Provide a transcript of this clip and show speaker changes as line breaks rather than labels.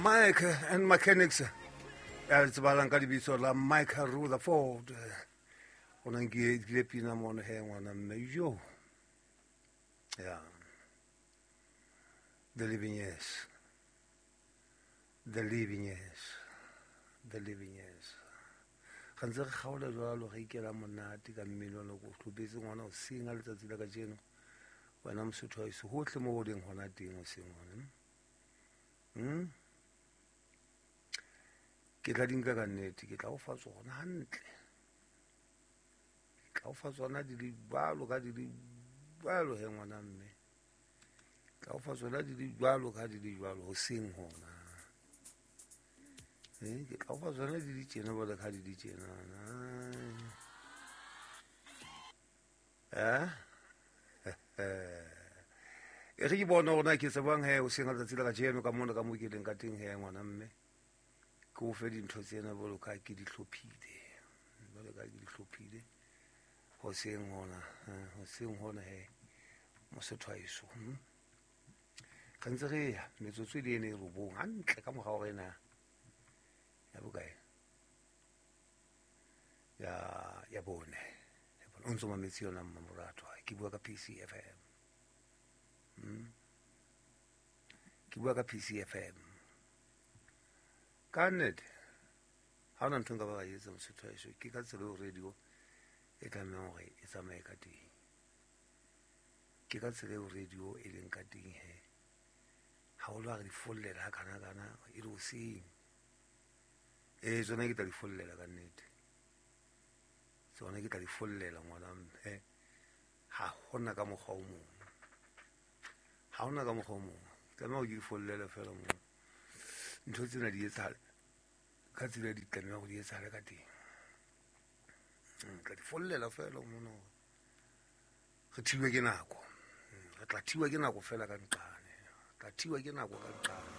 Mike and Mechanics ya tsebahalang ka lebitso la Mike Rutherford o na nkile pina mono he ngwana mme yo ya the living years, the living years, the living years. Ga ntse re kgaola jwalo re ikela monate ka mmino ono ko hlopetse ngwana o seng a letsatsi la kajeno wena Mosotho wa heso hohle mo o leng hona teng o seng hona. Ke tla di nka ka nnete, ke tla o fa tsona hantle, ke tla o fa tsona di le jwalo ka di le jwalo he ngwana mme, ke tla o fa tsona di le jwalo ka di le jwalo hoseng hona. Ke tla o fa tsona di le tjena jwalo ka di le tjena. E re ke bona hore na ke tsebang he hoseng ka letsatsi la kajeno ka mona ka mo ke leng ka teng he ngwana mme, ke o fe dintho tsena jwalo ka ke di hlophile, jwalo ka ke di hlophile hoseng hona, hoseng hona he Mosotho wa heso. Re ntse re ya metsotso e le ene e robong hantle ka mora hore ena ya bokae ya bone, o ntso mametse yona mmamoratwa, ke bua ka PCFM. Ke bua ka PCFM ka nnete. Ha hona ntho nka ba ka etsa Mosotho wa heso, ke ka tsela eo radio e tlamehang hore e tsamaye ka teng, ke ka tsela eo radio e leng ka teng he. Haholo ha re di follela ha kana kana e le hoseng. Tsona ke tla di follela ka nnete, tsona ke tla di follela ngwana mme, ha hona ka mokgwa o mong, ha hona ka mokgwa o mong, tlameha hore ke di follele fela moo. Ntho tsena di etsahale ka tsela di tlameha hore di etsahale ka teng. Tla di follela fela mona hore re thiwe ke nako, re tla thiwa ke nako fela ka nqane, re tla thiwa ke nako ka nqane.